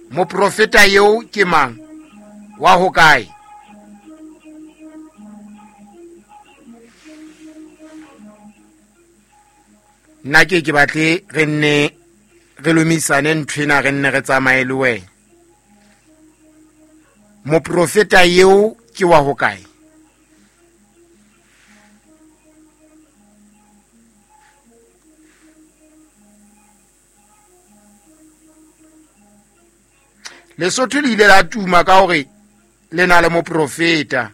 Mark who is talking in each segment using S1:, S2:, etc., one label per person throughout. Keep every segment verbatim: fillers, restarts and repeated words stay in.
S1: Moprofeta eo ke mang? Wa hokae? Nna ke ke batle re nne re lomisane nthwena, re nne re tsamaye le wena. Moprofeta eo ke wa hokae? Lesotho le ile la tuma ka hore le na le moprofeta.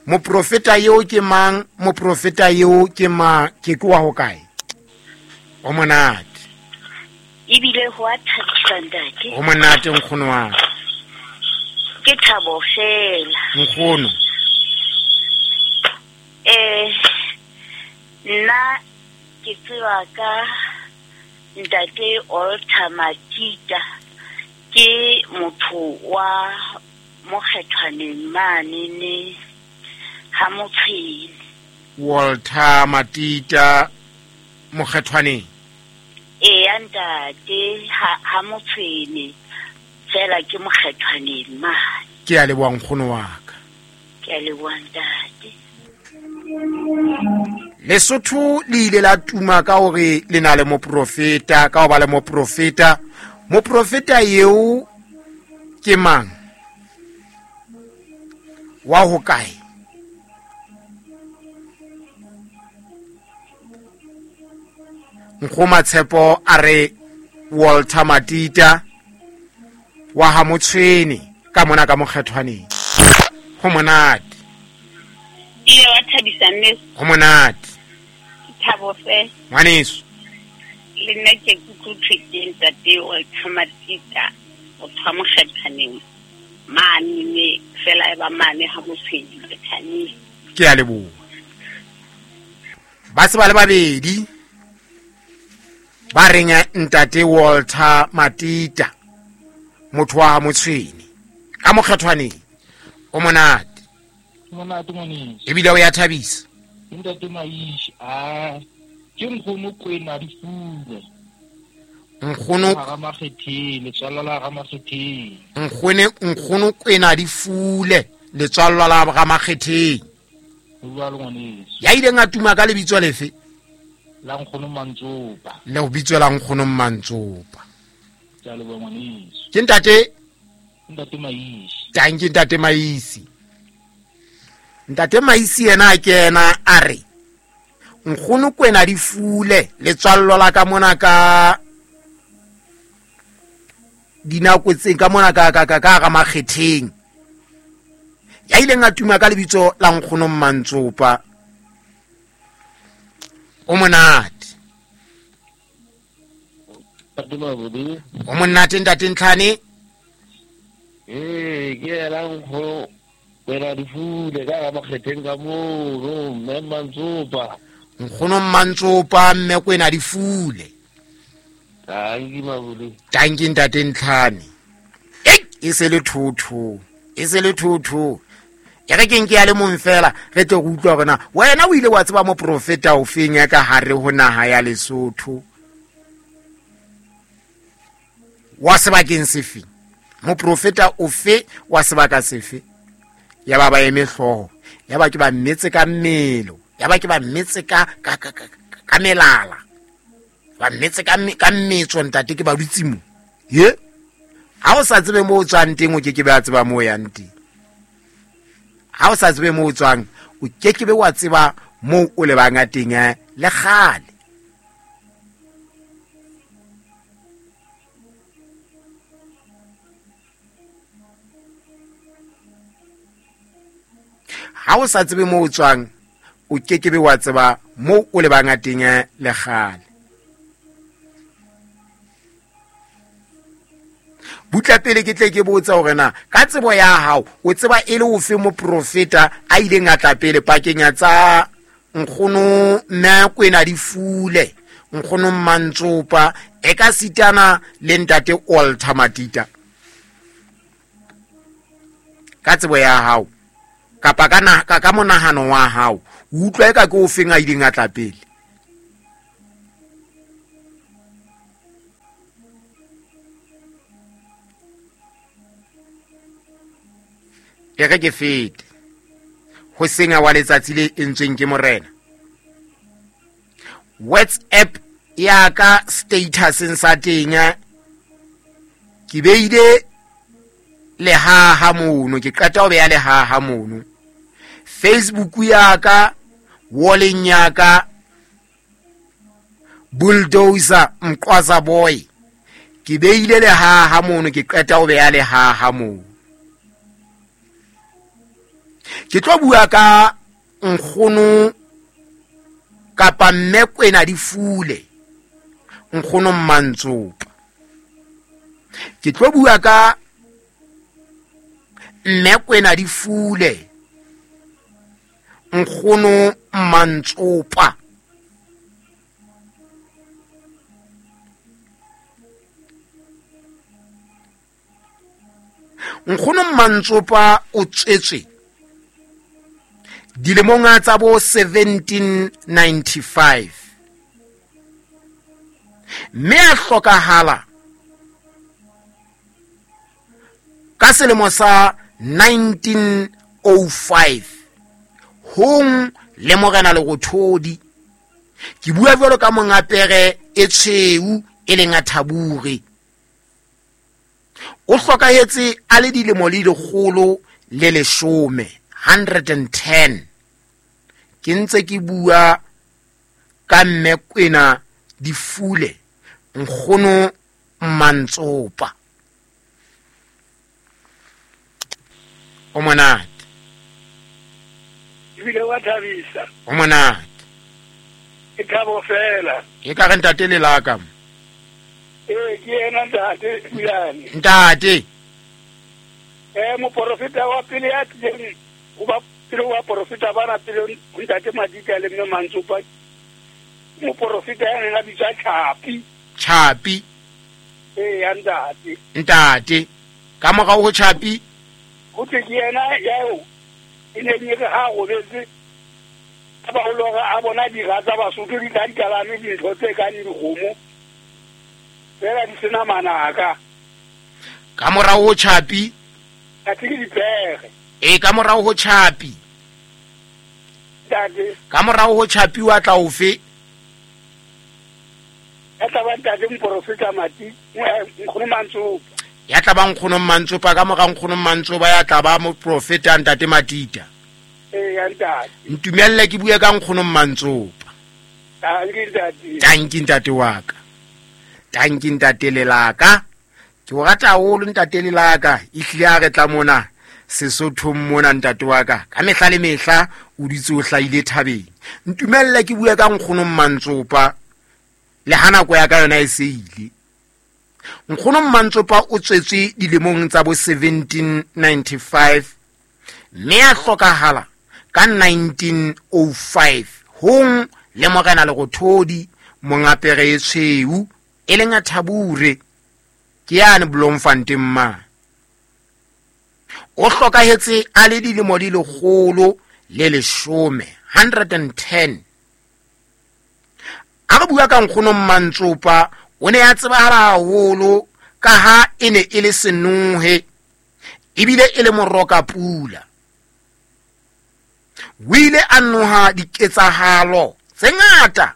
S1: Moprofeta eo ke mang? Moprofeta eo ke mang? Ke ke wa hokae? O monate.
S2: Ebile ho a thabisa ntate.
S1: O monate nkgono wa ka.
S2: Ke thabo fela.
S1: Nkgono.
S2: Eh, nna ke tseba ka ntate Walter Matita, ke motho wa Mokgethwaneng mane ne ha Motshwene.
S1: Walter Matita Mokgethwaneng.
S2: Eya ntate, ha, ha Motshwene fela ke Mokgethwaneng mane.
S1: Ke a leboha nkgono wa ka.
S2: Ke a leboha ntate.
S1: Lesotho le ile la tuma ka hore le na le moprofeta, ka ho ba le moprofeta. Moprofeta eo ke mang? Wa hokae? Nkgoma Tshepo a re Walter Matita wa ha Motshwene ka mona ka Mokgethwaneng. Ho monate.
S3: Ile wa thabisa mme.
S1: Ho monate.
S3: Thabo fe.
S1: Ngwaneso.
S3: Le nna ke kutlwe ke ntate Walter Matita o tswa Mokgethwaneng mane ne fela e ba mane ha Motshwene Bethanie.
S1: Ke a leboha. Ba se ba le babedi ba reng ntate Walter Matita motho wa Motshwene ka Mokgethwaneng. O monate.
S4: Monate ngwaneso.
S1: Ebile o ya thabisa.
S4: Ntate Maishi, ah, ke nkgono Kwena Difule.
S1: Nkgono
S4: ha Makgetheng, letswalo la ha Makgetheng.
S1: Nkgone, nkgono Kwena Difule, letswalo la ha Makgetheng.
S4: Jwalo ngwaneso.
S1: Ya ileng a tuma ka lebitso lefe?
S4: La nkgono Mantsopa.
S1: Le ho bitswa la nkgono Mantsopa.
S4: Ke a leboha ngwaneso.
S1: Ke ntate?
S4: Ntate Maisi.
S1: Tanki ntate Maisi. Ntate Maisi yena a kena a re nkgono Kwena Difule letswallo la ka mona ka dinako tse ka mona ka ka ka ka Makgetheng. Ya ileng a tuma ka lebitso la nkgono Mantsopa. O monate. O monate ntate Ntlhane.
S4: Eh, ke la nkgono Kwena Difule ka ga Makgetheng ka moo, mme Mantsopa.
S1: Nkgono Mantsopa mme Kwena Difule.
S4: Tanki mabule.
S1: Tanki ntate Ntlhane. Ei, e se le thotho. E se le thotho. E re ke nke ya le mong fela re tle go utlwa hore na wena o ile wa tseba moprofeta o feng ya ka hare ho naha ya Lesotho. Wa sebakeng sefe? Moprofeta ofe wa sebaka sefe? Ya ba ba eme hlooho, ya ba ke ba mmetse ka mmelo, ya ba ke ba mmetse ka ka ka ka melala. Ba mmetse ka ka mmetso ntate ke ba dutse mo. Ye? Ha o sa tsebe mo o tswang teng o ke ke be a tseba mo o yang teng. Ha o sa tsebe mo o tswang o ke ke be wa tseba mo o lebang teng le kgale. Ha o sa tsebe mo o tswang o ke ke be wa tseba mo o lebang teng le kgale. Butla pele ke tle ke botsa hore na ka tsebo ya hao o tseba e le ofe moprofeta a ileng a tla pele pakeng ya tsa nkgono mme Kwena Difule, nkgono Mantsopa e ka sitana le ntate Walter Matita. Ka tsebo ya hao kapa ka na ka ka monahano wa hao o utlwa e ka ke ofeng a ileng a tla pele? E re ke fete ho senga wa letsatsi le entsweng ke morena. WhatsApp ya ka statuseng sa teng ke beile lehaha mono, ke qeta ho beya lehaha mono. Facebook ya ka walleng ya ka Bulldozer Mqwaza Boy ke beile lehaha mono, ke qeta ho beya lehaha mono. Ke tlo bua ka nkgono kapa mme Kwena Difule, nkgono Mmantsopa. Ke tlo bua ka mme Kwena Difule, nkgono Mmantsopa. Nkgono Mmantsopa o tswetswe dilemong tsa bo seventeen ninety-five mme a hlokahala ka selemo sa nineteen oh five hong le morena Lerothodi. Ke bua jwalo ka monga pere e tshweu e leng a Thabure. O hlokahetse a le dilemo le lekgolo le leshome, hundred and ten. Ke ntse ke bua ka mme Kwena Difule, nkgono Mmantsopa. O monate.
S5: Ebile wa thabisa.
S1: O monate.
S5: Ke thabo fela.
S1: E ka re ntate le laka.
S5: Ee, ke yena ntate Pulane.
S1: Ntate.
S5: Eh, moporofeta wa pele ya tlileng ho ba pele wa porofeta bana pele ntate Madika le mme Mantsopa. Moporofeta ya neng a bitswa Chapi.
S1: Chapi.
S5: Ee, ya ntate.
S1: Ntate. Ka morao ho Chapi
S5: ho thwe ke yena eo e neng e re ha robetse a ba ho lora a bona dira tsa Basotho di tla di kalame dintho tse kang dikgomo fela di sena manaka.
S1: Ka morao ho Chapi
S5: a ke dipere.
S1: E ka morao ho Chapi.
S5: Ntate.
S1: Ka morao ho Chapi wa tla ofe?
S5: Ya tla ba ntate moporofeta Mati, nkgono Mantsopa.
S1: Ya tla ba nkgono Mmantsopa, ka mora nkgono Mmantsopa ya tla ba moprofeta ntate Matita.
S5: Ee, ya ntate.
S1: Ntumelle ke bue ka nkgono Mmantsopa.
S5: Tanki ntate.
S1: Tanki ntate wa ka. Tanki ntate lelaka. Ke o rata haholo ntate lelaka. Ehlile a re tla mona Sesothong mona ntate wa ka. Ka mehla le mehla o dutse o hlahile thabeng. Ntumelle ke bue ka nkgono Mmantsopa le ha nako ya ka yona e se ile. Nkgono Mmantsopa o tswetswe dilemong tsa bo seventeen ninety-five mme a hlokahala ka nineteen oh five hong le morena Lerothodi monga pere e tshweu e leng a Thabure ke yane Bloemfontein ma. O hlokahetse a le dilemo di lekgolo le leshome, hundred and ten. A re bua ka nkgono Mmantsopa o ne a tsebahala haholo ka ha e ne e le senohe ebile e le moroka pula. O ile a noha diketsahalo tse ngata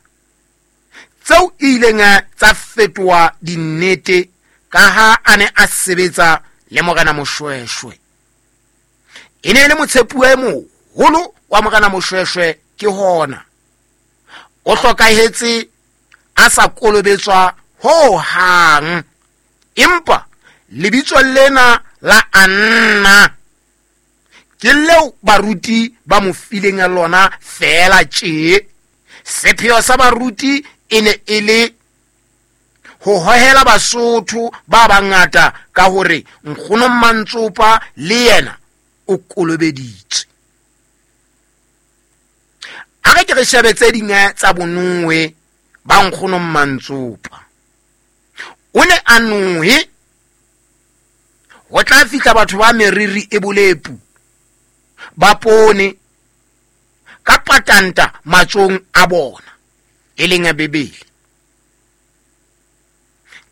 S1: tseo ileng tsa fetoha dinnete ka ha a ne a sebetsa le morena Moshweshwe. E ne e le motshepuwa e moholo wa morena Moshweshwe ke hona. O hlokahetse a sa kolobetswa ho hang, empa lebitso lena la Anna ke leo baruti ba mo fileng lona fela tje. Sepheo sa baruti e ne e le ho hohela Basotho ba bangata ka hore nkgono Mmantsopa le yena o kolobeditswe. A re ke re shebe tse ding tsa bonohe ba nkgono Mmantsopa. O ne a nohe ho tla fihla batho ba meriri e bolepu ba pone ka patanta matsong a bona e leng a Bibele.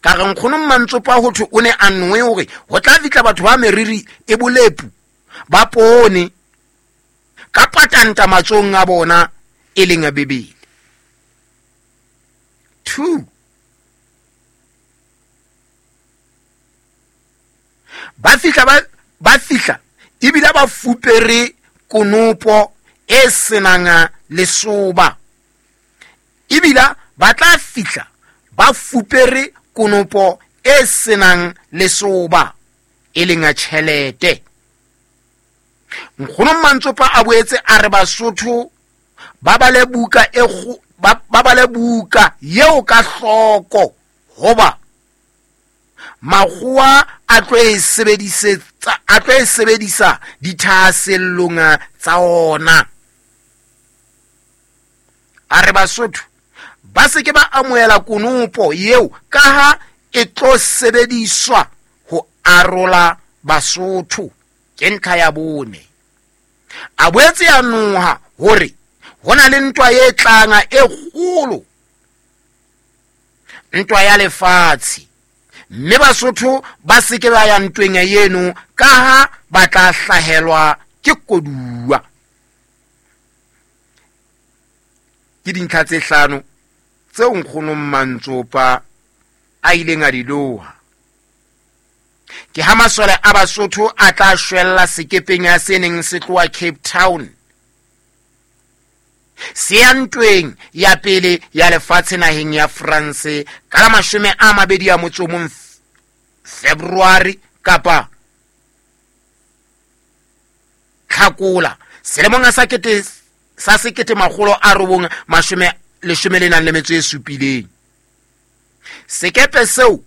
S1: Ka re nkgono Mmantsopa ho thwe o ne a nohe hore ho tla fihla batho ba meriri e bolepu ba poone ka patanta matsohong a bona e leng a Bibele. Two, ba fihla ba ba fihla ebile ba fupere konopo e senang lesoba. Ebile ba tla fihla ba fupere konopo e senang lesoba e leng a tjhelete. Nkgono Mantsopa a boetse a re Basotho ba bale buka e ba bale buka yeo ka hloko hoba makgowa a tlo e sebedisetsa a tlo e sebedisa dithahasellong tsa ona. A re Basotho ba se ke ba amohela konopo yeo ka ha e tlo sebediswa ho arola Basotho. Ke ntlha ya bone. A boetse ya noha hore ho na le ntwa e tlanga e kgolo, ntwa ya lefatshe, mme Basotho ba se ke ba ya ntweng eno ka ha ba tla hlahelwa ke koduwa. Ke dintlha tse hlano tseo Nkgono Mantsopa a ileng a di loha. Ke ha masole a Basotho a tla shwella sekepeng ya se neng se tloha Cape Town se ya ntweng ya pele ya lefatshe naheng ya France ka la mashome a mabedi a motso o mong February kapa Tlhakola selemong sa kete sa sekete makgolo a robong mashome leshome le nang le metso e supileng. Sekepe seo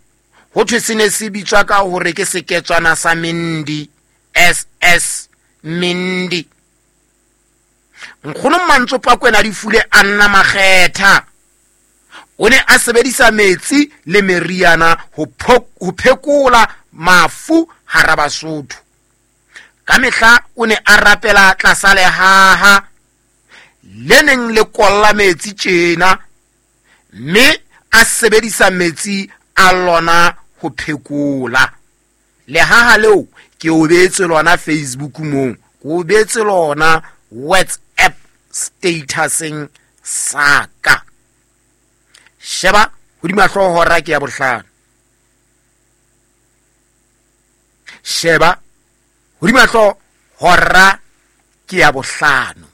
S1: ho thwe se ne se bitswa ka hore ke seketswana sa Mendi, S S Mendi. Nkgono Mantsopa Kwena Difule a nna makgetha. O ne a sebedisa metsi le meriana ho ho phekola mafu hara Basotho. Ka mehla o ne a rapela tlasa lehaha le neng le kolla metsi tjena, mme a sebedisa metsi a lona ho phekola. Lehaha leo ke o beetse lona Facebook moo, ke o beetse lona WhatsApp statuseng saka. Sheba hodima hlooho hora ke ya bohlano. Sheba hodima hlooho hora ke ya bohlano.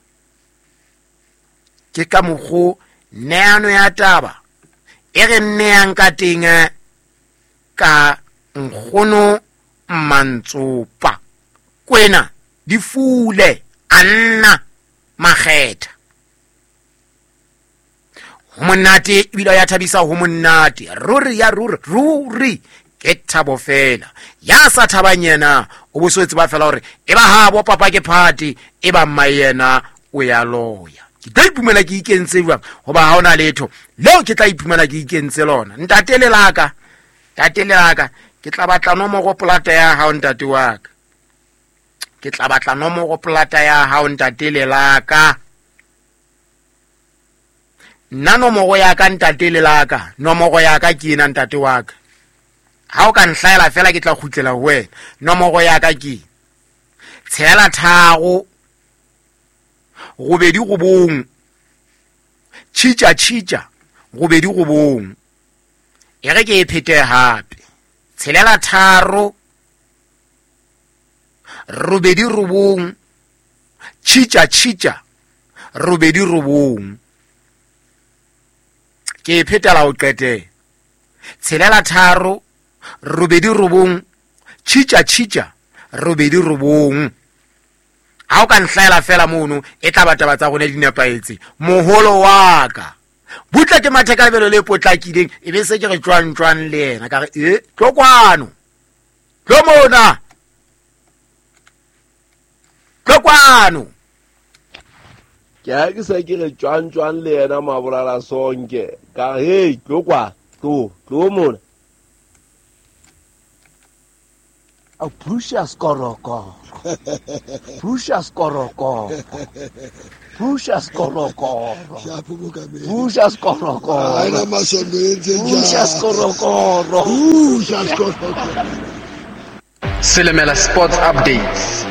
S1: Ke ka mokgo neano ya taba e re nneang ka teng ka Nkgono Mantsopa Kwena Difule a nna makgetha. Ho monate ebile ya thabisa, ho monate ruri ya ruri ruri ke thabo fela. Ya sa thabang yena o boswetse ba fela hore e ba ha bo papa ke party e ba mma yena o ya loya. Ke tla iphumana ke ikentse jwang hoba ha ona letho leo ke tla iphumana ke ikentse lona. Ntate le laka, ntate le laka, ke tla batla nomoro polata ya hao ntate wa ka. Ke tla batla nomoro polata ya hao ntate le laka. Nna nomoro ya ka ntate le laka, nomoro ya ka ke ena ntate wa ka. Ha o ka nhlaela fela ke tla kgutlela ho wena. Nomoro ya ka ke tshela tharo robedi robong tjhitja tjhitja robedi robong. E re ke e phete hape. Tshelela tharo robedi robong tjhitja tjhitja robedi robong. Ke e phetela ho qetela. Tshelela tharo robedi robong tjhitja tjhitja robedi robong. Ha o ka nhlaela fela mono e tla ba taba tsa rona di nepahetse. Moholo wa ka butle ke matheka lebelo le potlakileng e be se ke re tjwang tjwang le yena ka re e tlo kwano, tlo mona, tlo kwano.
S4: Ke ha ke se ke re tjwang tjwang le yena mabolala sonke ka re hey tlo kwa tlo tlo mona.
S6: A Precious Korokoro, Precious Korokoro, Precious Korokoro, Precious Korokoro, Precious Korokoro,
S7: Precious Korokoro. Silimela Sports Updates.